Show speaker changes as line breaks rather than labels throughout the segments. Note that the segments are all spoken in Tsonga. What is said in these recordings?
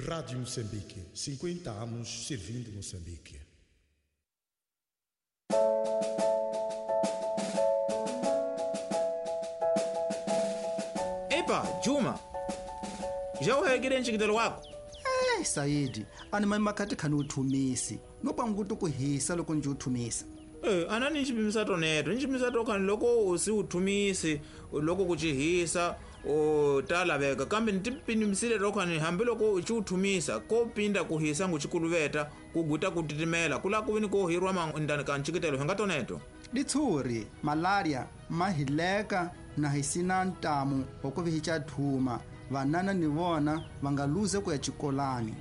Rádio Moçambique, 50 anos servindo Moçambique.
Epa, Juma, já uhegile ncikitelo wako?
Eh, Saidi, ani mani makhati khani uthumisi no panguti ku hisa loko ndzi uthumisa.
Anani ncipimisa toneto ncipimisa tokhani loko usi uthumisi loko kucihisa ta laveka kambe ntipimisile tokhani hambi loko uci uthumisa ko pinda kuhisa ngucikuluveta kuguta kutitimela kula kuvini ko hirwa mandani ka ncikitelo hinga toneto.
Ditshuri malaria ma hileka na hisina ntamu wa ku vihica thuma vanana ni vona va nga luze ku ya xikolani.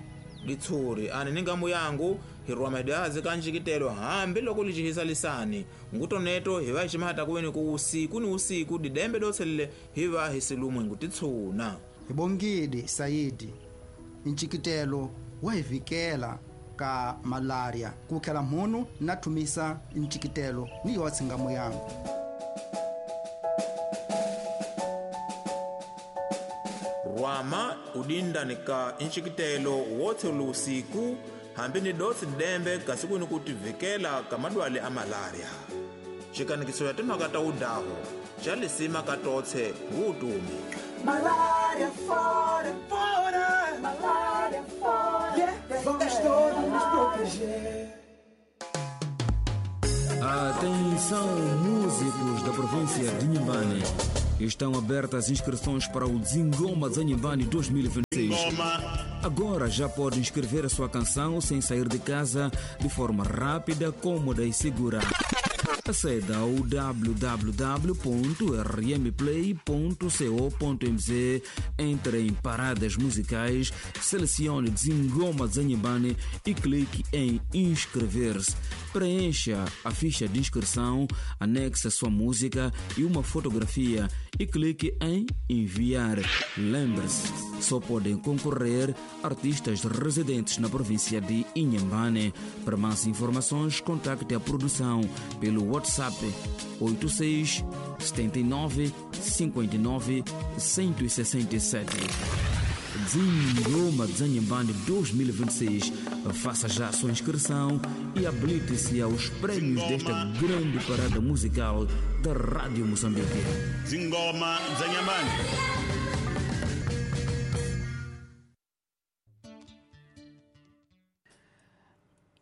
Ditshuri ani ni ngamu yangu hirwa madazi ka ncikitelo hambi loko licihisa lisani ngutoneto hi va ximata kuveni ku usiku ni usiku didembe dotselele hi va hi silumwe ngutitshuna.
Hi bongile Saidi, ncikitelo wa hi vikela ka malaria ku khela mhunu na thumisa ncikitelo ni yotse ngamu yangu.
Rwama udindani ka ncikitelo wotse usiku hambi ni dotsi dembe kasi kuni kutivikela ka madwale a malaria. Xikanikiso ya timhaka ta udaho xa lisima ka totse ngutumi.
Malaria fora, fora, malaria fora. Yeah, vamos todos nos proteger.
Atenção, músicos da província de Inhambane. Estão abertas as inscrições para o Zingoma Zanhambane 2026. Agora já pode inscrever a sua canção sem sair de casa, de forma rápida, cômoda e segura. Aceda ao www.rmplay.co.mz, entre em paradas musicais, selecione Zingoma Zanhambane e clique em inscrever-se. Preencha a ficha de inscrição, anexe a sua música e uma fotografia e clique em enviar. Lembre-se, só podem concorrer artistas residentes na província de Inhambane. Para mais informações, contacte a produção pelo WhatsApp 86 79 59 167. Zingoma Zanhambane 2026. Faça já a sua inscrição e habilite-se aos prêmios desta grande parada musical da Rádio Moçambique.
Zingoma Zanhambane.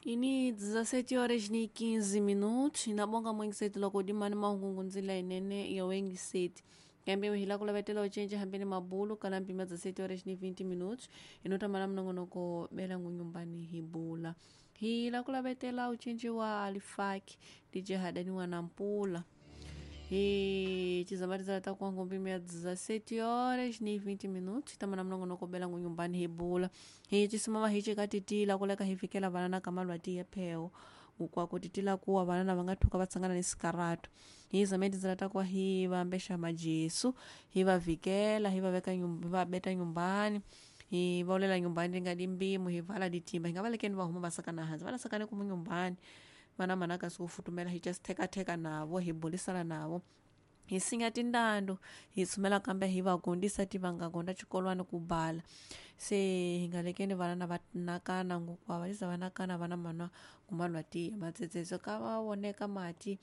Ini 17 horas ni 15 minutos inabonga mwengisetu loko dimani mahungungunzila inene ya wengiseti kambe hila kulavetela ucenje hambeni mabulu kala mpima 17 horas ni 20 minutos inotamala mnongonoko bela ngunyumbani hibula hila kulavetela ucenje wa alifaki DJ Hadani wa Nampula e tizambatizala takuanga mpima ya 17 horas ni 20 minutos tamana mnongonoko bela ngunyumbani hibula hichisimama hichikatitila kuleka hivikela vanana kamalwati yepheo ukwakutitila kuwa vanana vangathuka vatsangana ni sikaratu hizamendizela takuwa hi vambesha majesu hi vavikela hi vaveka hi vabeta nyumbani hi vaolela nyumbani ringadi mbimu hi vala ditimba hi nga valekeni va huma vasakana hansi va lasakane kumu nyumbani vana manaka sikufutumela hi just thekatheka navo hi bulisana navo hi sinya tindando hi tshumela kambe hi va gondisa ti va nga gonda xikolwani ku bala se hi nga lekeni vana va nakana ngokwa va liza va nakana vana manwa kumalwati matsetsetse ka va voneka mati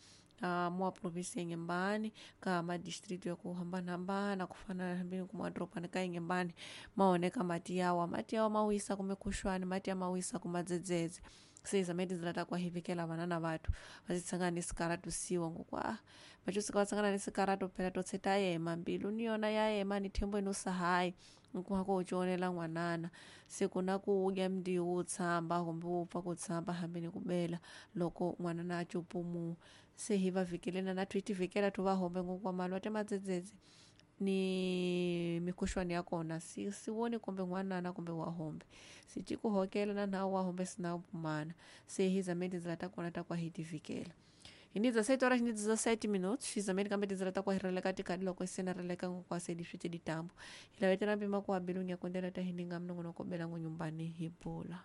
mua provinsi ya Inhambane ka madistrito ya ku hambanahambana ku fana hambi ku madorobani ka Inhambane maoneka mati yawa mawisa kumbe khuxwani mati ya mawisa ku madzedzedze se zamene tindlela ta ku hivikela vana na vathu va titsangana ni sikaratu siwa ngokwa vacusuka va tsangana ni sikaratu phela totse ta yema mbilu ni yona ya yema ni thembo ino sahayi nkuhako u cionela n'wanana se ku na ku udya mndiwu wu tshamba kumbe wu pfa ku tshamba hambi ni ku bela loko n'wanana a cupumu se hi va vhikelena na thu hi tivhikela thu va hombe ngokwa malwa te madzedzedze ni mikhuxwani ya kona si si voni kumbe n'wanana kumbe wa hombe si ci ku hokela na nhawu wa hombe sina pumana se hi zame tindlela ta kona ta ku hi tivikela hi ni 17 horas ni 17 minutos hi zameni kambe tindlela ta ku hi releka tikadi loko se na releka ngokwa se di swi te ditambo hi lavetela mpima ku habilunya kondela ta hi ninga mnongonoko bela ngunyumbani hi bula.